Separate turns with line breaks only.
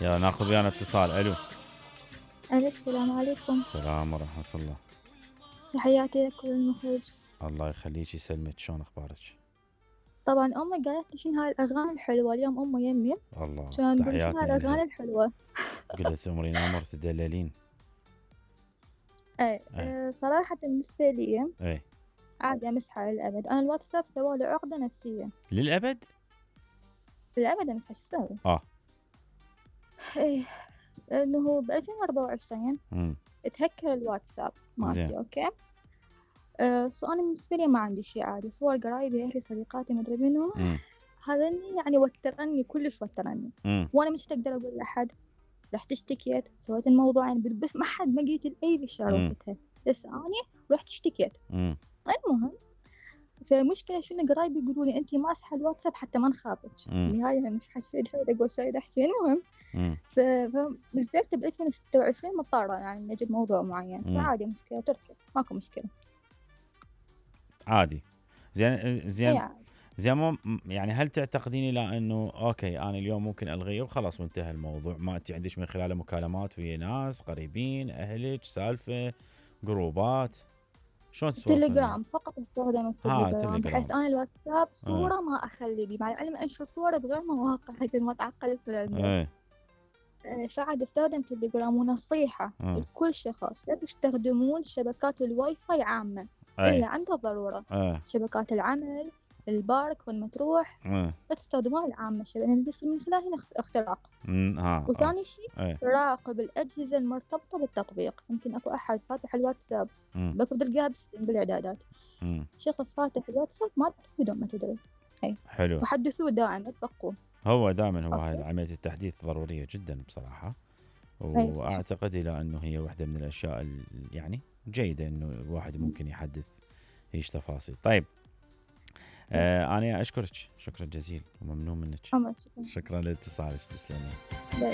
يلا ناخذ ويانا اتصال. الو.
ألو السلام عليكم.
السلام ورحمة الله.
تحياتي لكل المخرج.
الله يخليك يسلمك، شلون اخبارك؟
طبعا أمي قالت لي شنو هاي الأغاني الحلوة، اليوم أمي يمي
الله
كان تقول شنو هاي
تحياتنا
الأغاني
لها.
الحلوة.
قلت امرين امر تدللين.
صراحة بالنسبة لي
اي
عادي أمسحها للأبد. أنا الواتساب سوالي عقدة نفسية
للابد.
للأبد، أمسحها شو أسوي؟ إيه إنه ب2024 تهكر الواتساب مالتي. أوكي. سو أنا بالنسبة لي ما عندي شي، عادي صور قرايبي أهلي صديقاتي مدري منو، هذا يعني وترني كلش وترني. وأنا مش أقدر أقول لأحد رحت اشتكيت سويت الموضوع، يعني بس ما حد ما قلت لأي بشار وقتها، بس أنا رحت اشتكيت. المهم فمشكلة شنو قرايبي يقولوا لي أنتي ماسحة الواتساب حتى ما نخابك. بالنهاية أنا مش حتفيد أقول شيء أحكي. المهم فنزلت ب2026 مضطرة يعني نجد موضوع معين، فعادي مشكلة تركي ماكو مشكلة
عادي. زين
يعني.
زين يعني هل تعتقدين الى انه اوكي انا اليوم ممكن الغيه وخلاص وانتهى الموضوع، ما انت عندك من خلاله مكالمات ويا ناس قريبين اهلك، سالفه، جروبات، شلون تتواصلين؟
تليجرام فقط استخدم التليجرام، بحيث انا الواتساب صوره ما اخلي بي، مع العلم انشر صوره بغير مواقع هيك ما تعقدت في العلم. فعاد استخدم تليجرام. ونصيحه لكل شخص لا تستخدمون شبكات الواي فاي عامه الا عند الضروره. شبكات العمل، البارك والمتروح لا تستخدموها العامة لأن من خلالها اختراق. وثاني شيء راقب الأجهزة المرتبطة بالتطبيق. يمكن أكو أحد فاتح الواتساب بكو تلقاها بالإعدادات شخص فاتح الواتساب ما بدون ما تدري.
حلو.
وحدثوه دائما تبقوه.
هو دائما هاي عملية التحديث ضرورية جدا بصراحة، وأعتقد إلى أنه هي واحدة من الأشياء يعني جيدة أنه الواحد ممكن يحدث هيش تفاصيل. طيب أنا أشكرك شكرا جزيلا وممنون منك.
شكرا
لاتصالك. تسلمين.